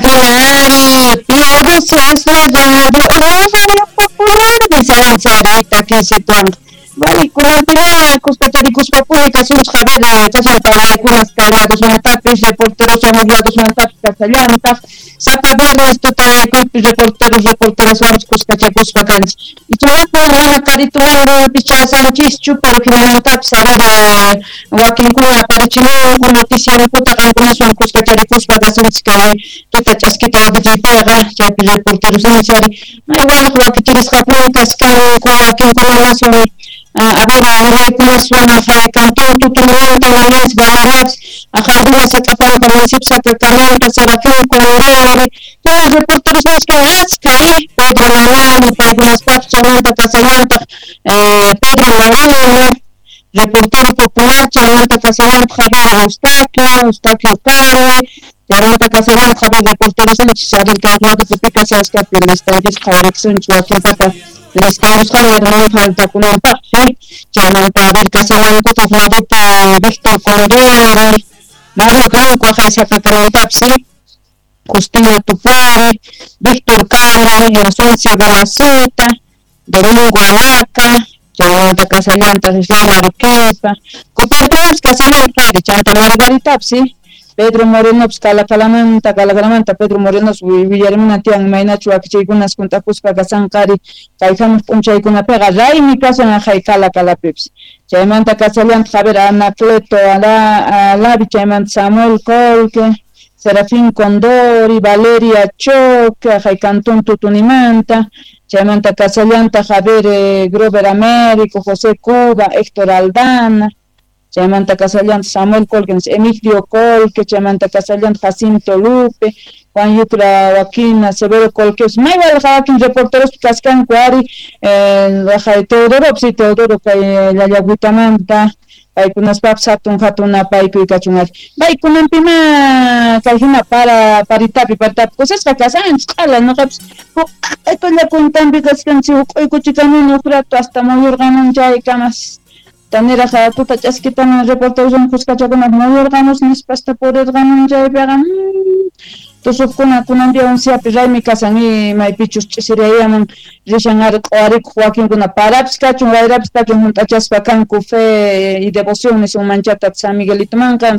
Ari, Pío XII es la radio, la radio popular de San Sarita, que se Kunanpiña kuskacharikuspa kasunchik a ver kashan parlaykunas kay ladosmantapis reporteros hamuq ladosmantapis kasallantaq sapa viernes tutayakuypi reporteros reporteraswanpis kuskachakuspa kanchik ichaqa mana karitumanpis chasanchischu, pero hinamantapis a ver wakinkuna aparichimunku noticiankuta qankunaswan kuskacharikuspa kasunchik kay tuta ch'askita wakichiypiqa chaypi reporteros ari may waliq wakichirisqakuna kaskanku wakinkunamaswan a ver willaykunaswan cantón Tutunimanta Nananchik Valeriapis Jardina Sacapampa municipio Sacacalampa Serafín Condori todos reporteros nisqa achka Pedro Mamani paykunaspapis chaymanta kasallantaq Pedro Moreno reportero popular chaymanta kasallantaq Javier Eustaquio, Eustaquio Cari chaymanta kasallantaq Javier reporteros ninchik kay ladopi kashaskapi listanchis qhawariksunchik wakinpata listayusqani mana faltakunanpaqsi chaymanta a ver kashallankutaq ladopi Víctor Condori, Mario Blanco aqhay Sacacalantapis Justina Tupari, Víctor Cari, Inocencia Balaceta, Domingo Alaca, chaymanta kasallantaq Islam Arequipa, Copartunas kasallantaq chanta Margaritapis Pedro Morenopis Calakalamanta, Calakalamanta Pedro Morenos willarimuna tiyan imaynachu wakichiykunas juntakuspa kasanqari kay hamuq p'unchaykunapiqa raymi kasan aqhay Calakalapipis chaymanta kasallantaq a ver Anacleto Alavi chaymanta Samuel Colque, Serafín Condori, Valeria Choque, aqhay Cantón Tutunimanta, chaymanta kasallantaq a ver Grover Américo, José Cuba, Héctor Aldana, chaymanta kasallantaq Samuel Colque, Emigdio Colque, chaymanta kasallantaq Jacinto Lupe, Juan Yucra Joaquín, Severo Colque, may waliq wakin reporteros kaskanku ari Teodoro, sí, Teodoro kay Llallagüitamanta paykunaspapis hatun hatun napaykuy kachun ari paykunanpima kay hina para paritapi paritapi kusisqa kasanchik q'ala ñuqapis huk q'aytulla kuntanpi kachkanchik huk'uykuchikamuni huk rato hasta muyurqamun chaykamas taniraq tuta ch'askitaman reporteroswan kuskachakunap muyurqamus nispasta purirqamun chaypiqa tusuqkuna kunanpi unciapi raymi kasan maypichus ch'isirayaman rishan ari q'uwarikuq wakinkuna parapis kachun wayrapis kachun hunt'achaspa kanku fe y devoción nisunmanchata San Miguelitomanqa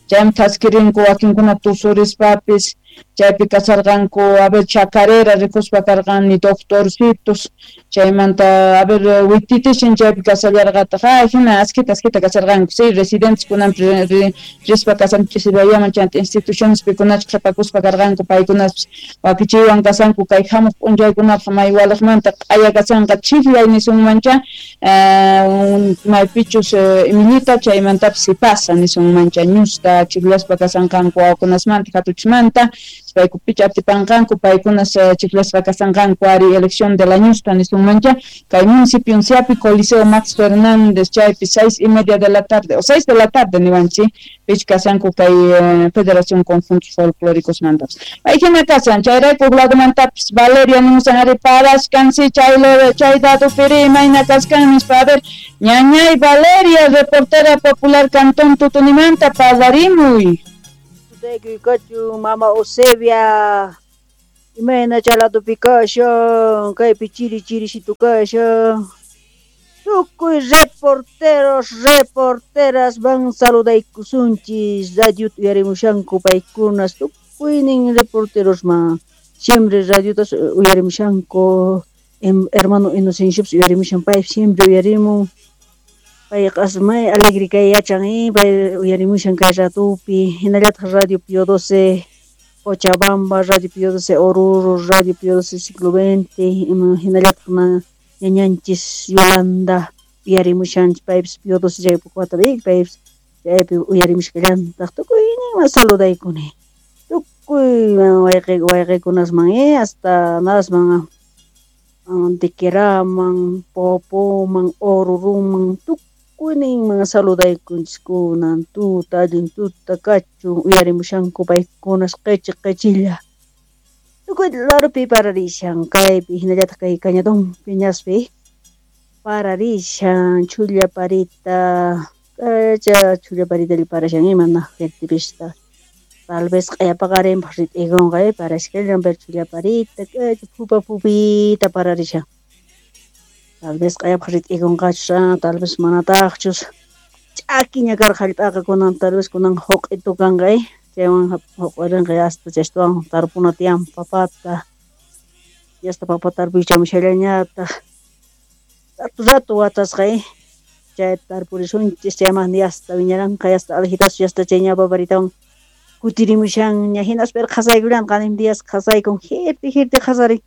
chaymi thaskirinku wakinkuna tusurispapis chaypi kasarqanku a ver chacarera rikuspa karqani doctorcitos chaymanta a ver wititishin chaypi kasallarqataq ay hina askita askita kasarqanku sí residentes kunanpi rispa kasan ch'isirayaman chayanta instituciones pikunachus qhipakuspa karqanku paykunaspis wakichiywan kasanku kay hamuq p'unchaykunapaq may waliqmanta q'aya kasanqa chikllay nisunmancha maypichus imillita chaymantapis sipasa nisunmancha ñusta chikllaspa kasanqanku wawakunasmanta hatuchismanta paykupicha atipanqanku paykunas chiklasqa kasanqanku ari elección de la ñusta nisunmancha kay municipio unciapi Coliseo Max Fernández chaypi 6:30 de la tarde o 6 de la tarde niwanchik pich kasanku kay Federación Conjuntos Folclóricos mantapis pay hina kasan chayrayku huk ladomantapis Valeria nimusan ari parashkansi chay chay dadupiri imayna kaskan nispa a ver ñañay Valeria reportera popular Cantón Tutunimanta parlarimuy. Tutaykuy mama Eusebia imayna chay ladopi kashan kaypi chiri chirisitu kashan tukuy reporteros reporteras van saludaykusunchis radiota uyarimushanku paykunas tukuynin reporterosman siempre radiotas uyarimushanku hermano Inocenciopis uyarimushan pay siempre uyarimun payqa may alegre kay yachan pay uyarimushan kay ratupi hinallataq Radio Pío XII Cochabamba, Radio Pío XII Oruro, Radio Pío XII Siglo XX hinallataq ñañanchis Yolanda uyarimushanchik paypis Pío XII chaypi watapi paypis chaypi uyarimushkallantaq tukuyninman saludaykuni tukuy wayqikunasman hasta nasman Antequeraman, Popoman, Oruruman tukuyninman saludaykunchis kunan tuta allin tuta kachun uyarimushanku paykunas qichi qichilla tukuy larupi pararishan kaypi hinallataq kay Cañadonpi ñaspi pararishan chhulla parita k'acha chhulla paritalla parashan imana fuertepista Tal vez q'aya paqarinpaq rit'ikunqa parashkallan, pero chilla parita, phupa phupita pararishan. Tal vez q'ayapaq rit'ikunqachus, tal vez manataqchus. Ch'akiña karqa hallp'aqa kunan, tal vez kunan huq'itu kanqa, chaywan huq'irinqa hasta chaytawan tarpuna tiyan papata. Yasta papa tarpuychamushallañataq. Rato rato watasqa, chay tarpurisunchis, chayman yasta wiñaranqa, yasta aljitas, yasta chay ñawpa paritawan kutirimushanña, hinaspa qhasaykullan qanin días qhasaykun, jirti jirti qhasarin.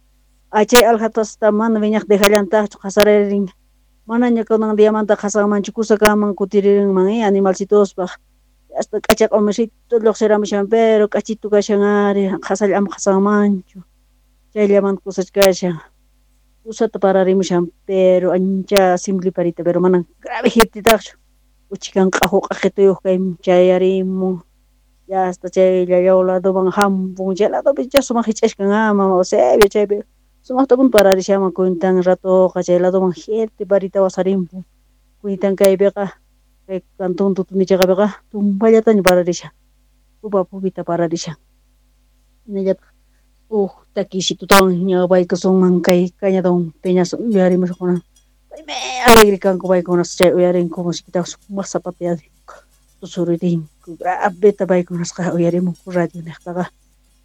Chay aljatasta mana wiñaq dejallantaqchu qhasaririn. Manaña kunan diamanta qhasanmanchu kusakaman kutiririnman, animalcitospaq. Hasta k'acha q'umisito lluqsiramushan, pero k'achitu kashan ari, qhasalla ama qhasanmanchu. Chayllamanta kusachkashan. Kusata pararimushan, pero ancha simple parita, pero mana grave jirtitaqchu. Uchikan q'aqu q'aqituyuq kay chayarimun. Ya hasta chay llallaw ladoman hampun, chay ladopi ya sumaq hich'ashkan mama Eusebio chaypi sumaqtapuni pararishanman cuentan ratoqa chay ladoman jirti parita wasarimpun. Cuentan kaypiqa kay cantón Tutunichaqapiqa tumpallataña pararishan. Pupa pupita pararishan. Hinallataq uj takisitutawan ñawpaykusunman kay Cañadón Peñas uyarimushaqkuna. Paymi alegre kanku paykunas chay uyarinku musiquitaqa sumaq zapateadinku, tusurinku, graveta paykunasqa uyarimunku radio niqtaqa.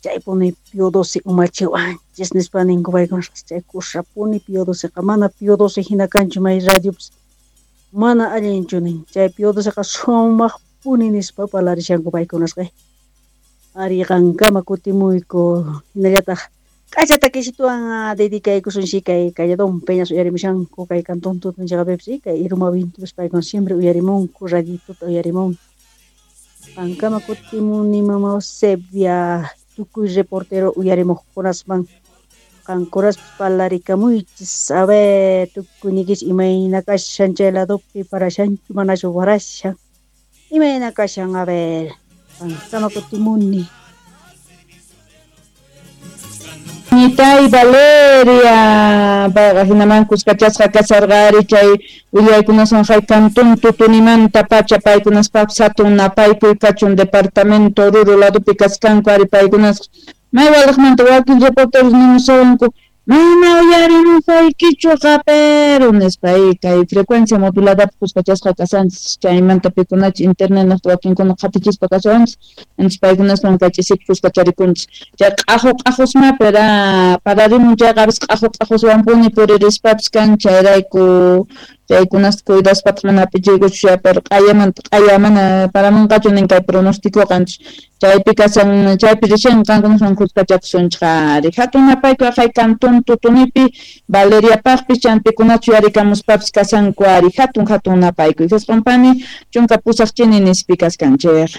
Chaypuni Pío XII umachiwanchis nispa ninku paykunasqa chay kusapuni Pío XIIqa mana Pío XII hina kanchu may radiopas mana allinchu nin. Chay Pío XIIqa sumaqpuni nispa parlarishanku paykunasqa. Ari qankama kutimuyku hinallataq k'acha takisituwan dedicaykusunchik kay Cañadón Peñas uyarimushanku kay cantón Tutunichaqapipis kay Iruma Vintupis paykuna siempre uyarimunku radituta uyarimunku. Qankama kutimuni mama Eusebia tukuy reportero uyarimuqkunasman qankunaspis parlarikamuychis a ver tukuyniykichis imayna kashan chay ladopi parashanchu manachu parashan imayna kashan a ver qankama kutimuni. Ñitay Valeria, payqa hinaman kuskachasqa kasarqa ari chay willaykunaswan hay cantón Tutunimanta pacha paykunaspapis hatun napaykuy kachun departamento Oruro ladopi kaskanku ari paykunas may walaqmanta wakin reporteros nimusawanku mana uyarimusaykichuqa pero nispa kay frecuencia moduladapi kuskachasqa kasanchis chaymanta pikunachu internet niqta wakinkuna qhatichispa kashawanchis entonces paykunaswan kay ch'isipi kuskacharikunchis chay q'aqu q'aqusma pero pararimun chayqa a veces q'aqu q'aquswanpuni puririspapis kan chayrayku chaykunasta cuidaspataq mana apichiykuchu pero q'ayamanta q'aya mana paramunqachu nin kay pronosticoqa chaypi kashan chaypi rishan qankunaswan kuskachakusunchik ari hatun napaykuy aqhay cantón Tutunipi Valeriapaqpis champikunachu yarikamuspapis kashanku ari hatun hatun napaykuy Jesqonpani 18 chini nispi kaskanchik.